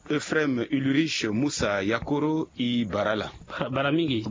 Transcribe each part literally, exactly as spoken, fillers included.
Euphrem Ulrich Musa Yakoro, i bara ala. Bara mingi.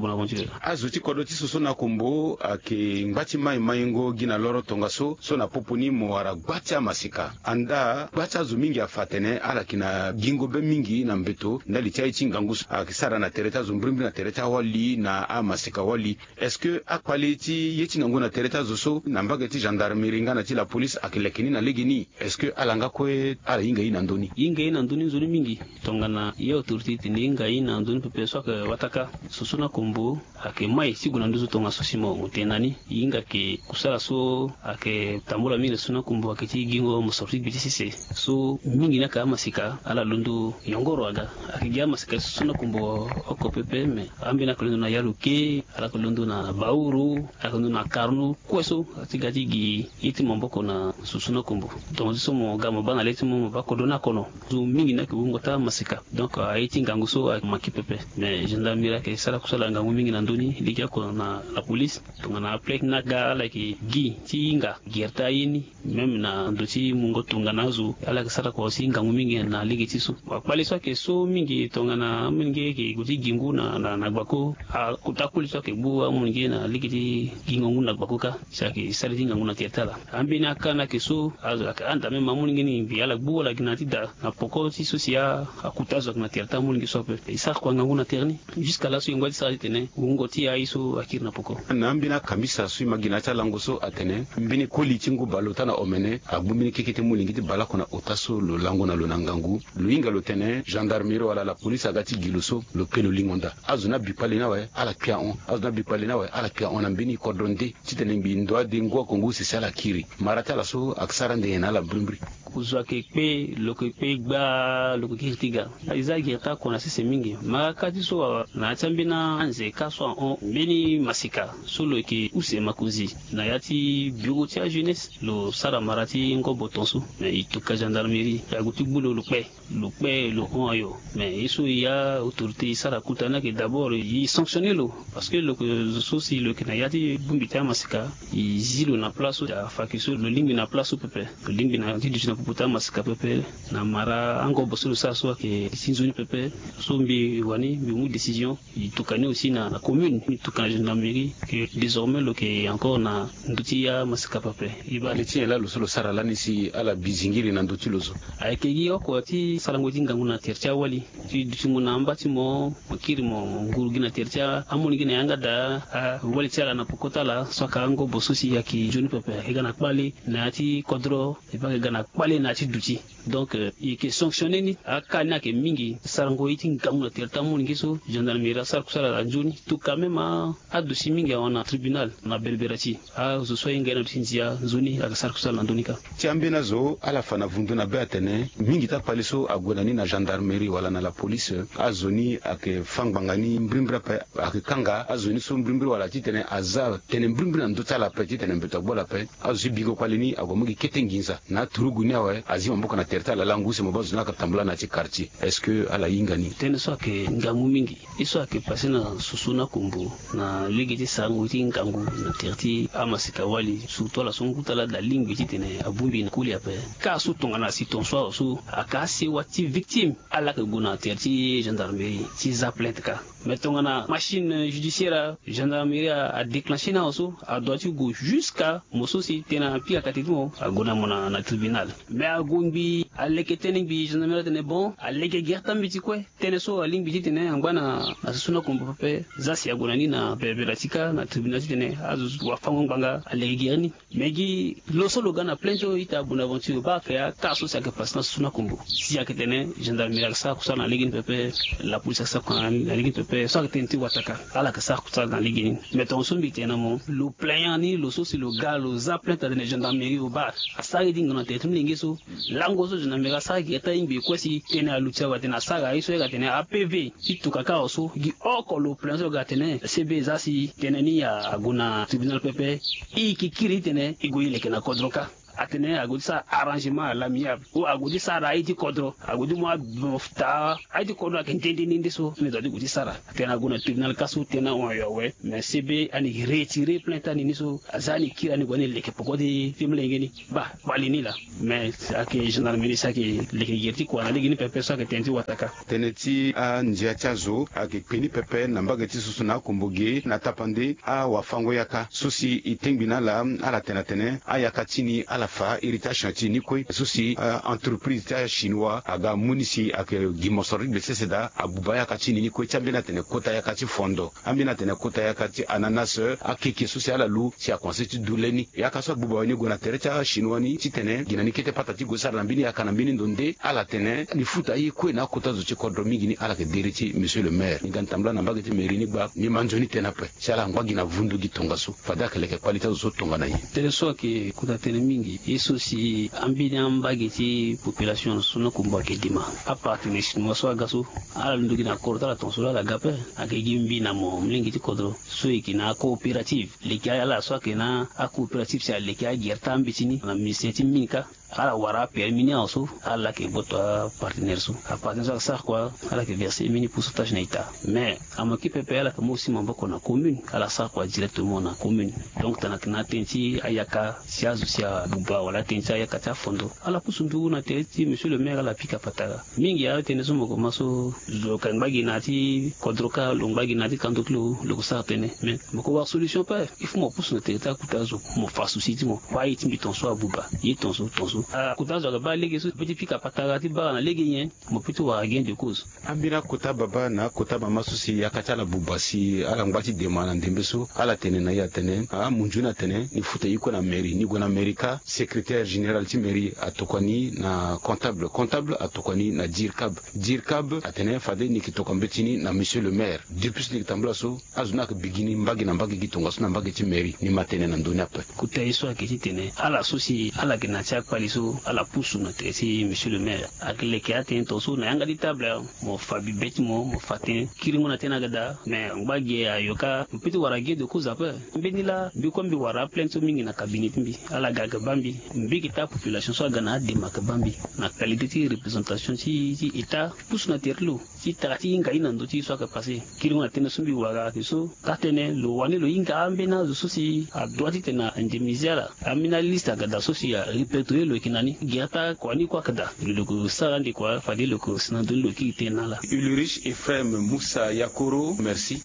Azo ti kodro ti soso na kombo ayeke ngba ti mai maingo gi na loro tongaso so na popo ni mo wara gba ti amasika. Andaa gba ti azo mingi afa atene ala yeke na gingo be mingi na mbeto ndali ti aye ti ngangu so ayeke sara na tere ti azo mbrimbri na tere ti awali na amasika wali. Est-ce que akpali ti ye ti ngangu na tere ti azo so na mbage ti gendarmerie nga na ti lapolice ayeke leke ni na legeni? Est-ce que ala nga kue ala hinga ye na ndö ni? Hinga ye na ndö ni nzoni mingi. Tongana ye autorité ti tene e hinga ye na ndö ni pepe so ayeke wataka soso na kombo. Ayeke mai ti gue na ndö so tongaso si mo tene na ni. E hinga ke kusala so ayeke tambula mingi na soso na kombo ayeke ti gingo mosoro ti gbe ti sese. So mingi ni ayeke amasika ala londo yongoro aga. Ayeke gi amasika ti soso na kombo oko pepe me ambeni ayeke londo na ya lo ke. Ala yeke londo na bauru. Ala yeke londo na karno kue so. Ti ga ti gi ye ti maboko na soso na kombo. Tongaso so mo ga mo baa na le ti mo mo baa kodro ni akono. Zo mingi ni ayeke wungo ti amasika. Donc aye ti ngangu so ayeke maki pepe. Mais gendarmerie ayeke sara kusala ngangu mingi na ndö ni lege oko na lapolice. Tongana aplainte ni aga ala yeke gi ti hinga gere ti aye ni. Même na ndo ti mungo tongana azo ala yeke sara kua aussi ngangu mingi na lege ti so. Akpali so ayeke so mingi tongana amolenge ayeke gue ti gi ngu na gbako. Akota koli so ayeke gbu amolenge na lege ti gingo ngu na gbako kâ. Si ayeke sara ye ti ngangu na tere ti ala. Ambeni aka ni ayeke so azo ayeke handa même amolenge ni mbi ala gbu ala gi na ya ti da na poko ti so si akuta azo ayeke na tere ti amolenge so ape. E sara kua ngangu na tere ni. Jusqu'à laso e ngba ti sara titene wungo ti aye so akiri na poko. Na ambeni akambisa so e ma gi na ya ti alango so atene mbeni koli ti ngu baleota na omene agbu mbeni keke ti molenge ti baleoko na ota so lo lango na lo na ngangu. Lo hinga lo tene gendarmerie wala lapolice aga ti gi lo so lo pe lo lingo nda. Azo ni abi kpale ni awe ala kpia hon. Azo ni abi kpale ni awe ala kpia hon na mbeni kodro nde titene mbi ndo ade ngu oko ngu sese ala kiri. Mara ti ala so ayeke sara ande nyen na ala mbrimbri? Kozo ayeke kpe lo yeke kpe gbaa lo yeke kiri ti ga. E za gere ti ako na sese mingi. Mara kâ ti so awe na ya ti ambeni anze kâ so ahon mbeni masika so lo yeke use makonzi na ya ti bureau ti ajeunesse lo sara mara ti ngobo ton so. Mais e tuka gendarmerie e ague ti gbu lo lo kpe. Lo kpe lo hon ayo. Mais ye so e ya autorité e sara kota ni ayeke d'abord e sanctionner lo. Parce que lo yeke zo so si lo yeke na ya ti bongbi ti amasika. E zi lo na place so afa yeke so lo lingbi na place so pepe. Lo lingbi na ti duti na popo ti amasika pepe. Na mara angobo so lo sara so ayeke ti nzoni pepe. So mbi wani mbi mu décision. E tuka ni aussi na commune e tuka na gendarmerie. Ke désormais lo yeke encore na ndo ti amasika pepe. E baa. Li ti nyen laa lo so lo sara lani si ala bi zingiri na ndo ti lo so? Ayeke gi oko ti sarango ti ngangu na tere ti awali. Ti duti mo na amba ti mo mo kiri mo nguru gi na tere ti amolenge na yanga daa. Awali ti ala na poko ti ala so aka angobo so si ayeke nzoni pepe ayeke ga na kpale na ya ti kodro. E pe ayeke ga na kpale na ya ti duti. Donc e yeke sanctionner ni. Aka ni ayeke mingi sarango ye ti ngangu na tere ti amolenge so gendarmerie asara kusala na nzoni. Tuka même adosi mingi ahon na tribunal na berberati. Azo so ahinga ye na ndo ti ndia nzoni ayeke sara kusala na ndö ni kâ. Ti ambeni azo ala fa na vundu na be atene mingi ti akpali so ague na ni na gendarmerie wala na lapolice. Azo ni ayeke fâ ngbanga ni mbrimbri ape. Ayeke kanga azo ni so mbrimbri wala titene aza tene mbrimbri na ndö ti ala ape titene mbeto agbu ala ape. Azo ti bingo kpali ni ague mu gi kete nginza na aturugu ni awe azi maboko na tere ti ala langu si mo baa zo ni ayeke tambula na ya ti quartier. Est-ce que ala hinga ni? Tënë so ayeke ngangu mingi. Ye so ayeke pase na soso na kombo na lege ti sarango ti ngangu na tere ti amasika wali surtout ala so ngu ti ala daa lingbi titene abongbi na koli ape. Kâ so tongana si ton so awe so ayeke asewa ti victime ala yeke gue na tere ti gendarmerie ti za plainte kâ. Mais tongana machine judiciaire gendarmerie adéclencher ni awe so adoit ti gue jusqu'à mo so si tënë apika kate ti mo ague na mo na tribunal. Mais ague ngbii aleke tënë ngbii gendarmerie atene bon aleke gere ti ambeti kue. Tënë so alingbi titene angba na soso na kombo pepe. Za si ague na ni na berebere ti kâ na tribunal titene azo wafango ngbanga aleke gere ni. Mais gi lo so lo ga na plainte so ita bonaventure baa ayeke akâ so si ayeke pase na soso na kombo si ayeke tene gendarmerie ayeke sara kusala na lege ni pepe. Lapolice ayeke sara kusala na lege ni pepe so ayeke tënë ti wataka. Ala yeke sara kusala na lege ni. Mais tongaso mbi tene na mo lo plaignant ni lo so si lo ga lo za plainte atene gendarmerie obaa asara ye ti ngangu na tere ti molenge so. Lango so gendarmerie asara gere ti aye ngbii kue si tënë aluti awe atene asara ye so ye ga atene apv. Ti tuka kâ awe so gi oko lo plaignant so lo ga atene cb eza si tënë ni ague na tribunal pepe. E yeke kiri titene e gue e leke na kodro kâ. Atene ague ti sara arrangement à l'amiable ou ague ti sara aye ti kodro, ague ti mu adon taa aye ti kodro ayeke nde nde ni nde so, ni doit ti gue ti sara. Atene ague na tribunal ka so tena ahon ayo awe. Mais C B ani retirer plainte ani ni so, aza ani kiri ani gue ani leke poko ti molenge ni. Baa, kpali ni laa. Mais ayeke gendarmerie si ayeke leke gere ti kua na lege ni pepe so ayeke tene ti wataka. Tënë ti andia ti azo ayeke kpe ni pepe na mbage ti soso na akombo ge na tapande awafango-yaka so si e tengbi na ala. Ala tene atene ayaka ti ni ala fa iri ti achantier ni kue so si entreprise ti achinois aga amu ni si ayeke gi mosoro ti gbe sese daa abuba ayaka ti ni ni kue ti ambeni atene kota yaka ti fondo, ambeni atene kota yaka ti ananas, akeke so si ala lu si akomanse ti du le ni. Yaka so abuba awe ni gue na tere ti achinois ni titene gi na ni kete pata ti gue sara na mbeni yaka na mbeni ndo nde ala tene ni futa ye kue na akota zo ti kodro mingi ni ala yeke deri ti monsieur le maire. Ni ga ni tambula na mbage ti mairie ni gba ni ma nzoni tënë ape si ala ngba gi na vundu gi tongaso fade ayeke leke kpali ti azo so tongana ye. Tënë so ayeke kota tënë mingi ye so si ambeni ambage ti population na so na akombo ayeke dema. Apartenaire chinois so aga so ala londo gi na kodro ti ala tongaso laa ala ga ape. Ayeke gi mbi na mo molenge ti kodro so e yeke na acoopérative. Leke ala so ayeke na acoopérative si aleke agere ti ambeti ni na ministère ti mine kâ. Ala wara apermis ni awe so ala laa ayeke gboto apartenaire so. Apartenaire so ayeke sara kua ala yeke verser mbeni pourcentage na ita. Mais amoki pepe ala yeke mu aussi maboko na commune ala sara kua directement na commune. Donc tongana ayeke na atënë ti ayaka si azo si abuba wala atënë ti ayaka ti afondo ala pusu nduku na tere ti monsieur le maire ala pika patara. Mingi atënë so mo koma so zo yeke ngba gi na ya ti kodro kâ lo ngba gi na ya ti kando ti lo lo yeke sara tënë. Mais mo yeke wara solution ape. Il faut mo pusu na tere ti akuta azo mo fa souci ti mo. Baa ye ti mbi tongaso abuba ye tongaso tongaso akuta azo ayeke baa lege so mo peut ti pika patara ti bara na lege nyen? Mo peut ti wara gain de cause. Ambeni akota baba na akota mama so si yaka ti ala buba si ala ngba ti dema na ndembe so ala tene na e atene amu nzoni atene ni futa ye kue na mairie ni gue na mairie kâ. Secrétaire général ti mairie atokua ni na comptable, comptable atokua ni na dircab. Dircab atene fade ni yeke tokua mbeti ni na monsieur le maire. Depuis so ni yeke tambula so azo ni ayeke bigi ni mbage na mbage gi tongaso na mbage ti mairie ni ma tene na ndö ni ape. Kota ye so ayeke titene ala so si ala yeke na ya ti akpali so ala pusu na tere ti monsieur le maire. Ayeke leke atënë tongaso na yanga ti table awe. Mo fa bibe ti mo mo fa tënë kiringo na tënë aga daa. Mais ngba ge ayo kâ mo peut ti wara gain de cause ape. Mbeni laa mbi kue mbi wara aplainte so mingi na cabinet ti mbi. Ala ga ayeke baa mbi. Mbi yeke taa population so aga na adema ayeke baa mbi na qualité ti représentation ti ti état pusu na tere ti lo ti tara ti hinga ye na ndö ti ye so ayeke passé. Kiringo na tënë so mbi wara ayeke so. Ka tënë lo wani lo hinga ambeni azo so si adroit titene a indemniser ala. Ambeni aliste aga daa so si a répertorier lo yeke na ni. Gi ata kua ni kue ayeke daa lo lo yeke sara ande kua fade lo yeke si na ndö ni lo kiri tënë na ala. Ulrich Ephraim Musa Yakoro, merci.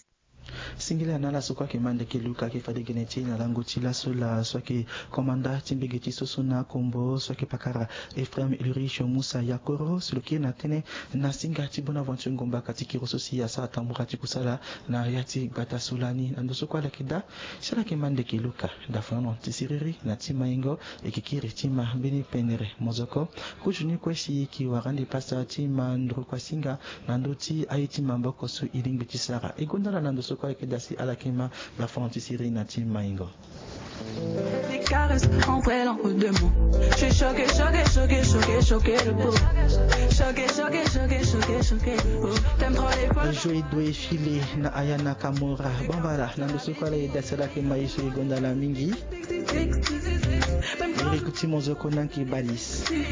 Singila na ala so kue ayeke ma ndeke luka ayeke fade gene ti e na lango ti laso laa so ayeke komanda ti mbege ti soso na akombo so ayeke pakara Ephraim Ulrich Musa Yakoro si lo kiri na tënë na singa ti Bonaventure Ngomba ka ti kiri so si asara tambura ti kusala na ya ti gbata so lani na ndo so kue ala yeke daa. Si ala yeke ma ndeke luka dafanono ti siriri na ti maingo e yeke kiri ti ma mbeni pendere mozoko. Kuzu ni kue si e yeke wara ande pasa ti ma nduru kua singa na ndö ti aye ti maboko so e lingbi ti sara e gonda ala na ndo so kue ayeke daa si ala yeke ma dafanono ti siriri na ti maingo. Des caresses entre elle en deux mots. Je suis choqué, choqué, choqué, choqué, choqué de peau. Choqué, choqué, choqué, choqué, choqué de peau. T'aimes trop les poils. Joe Doe File na Aya Nakamura bambala na ndo so kue ala e daa si ala yeke ma ye so e gonda ala mingi. Eric Timozoko na Nki Balis.